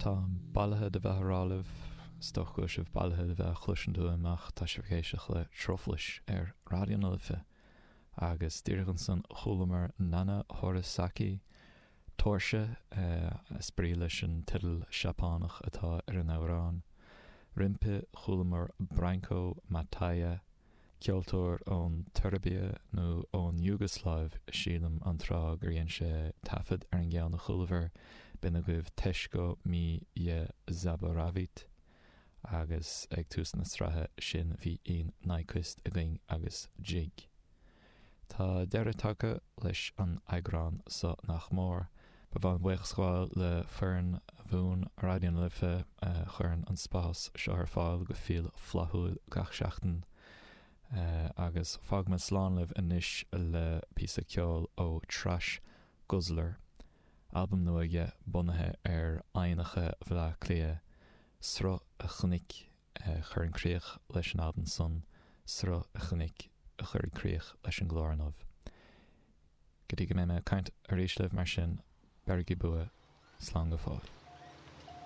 Táim bailithe de bheith á rá libh, is dócha go bhfuil sibh bailithe de bheith á chloisint uaim ach tá sibh ag éisteacht le Truflais ar Raidió na Life agus díreach ansan chualamar Nana Horisaki, Tóirse is brí leis an teideal Seapánach atá ar an amhrán. Roimpi chualamar Branko Mataja, ceoltóir ón tSeirbia nó ón Iúgasláiv sílim an tráth gur dhein sé taifead ar an gceann a chualabhar, b'in agaibh Teško mi je zaboravit agus ag tús na sraithe sin bhí Ian Nyquist againn agus Jig. Tá deireadh tagtha leis an eagrán so nach mór. Ba mhaith liom buíochas a ghabháil le foireann bhuan Raidió na Life a chuireann an spás seo ar fáil go fial flaithiúil gach seachtain. Agus fágfaidh mé slán libh anois le píosa ceoil ó Trash Guzzler, albam nua aige bunaithe ar aibhneacha Bhaile Átha Cliath, Sruth a Chnoic a chuireann críoch leis an albam san, Sruth a Chnoic a chuirfidh críoch leis an gclár inniu. Go dtí go mbeidh mé ag caint arís libh mar sin, beirigí bua, slán go fóill.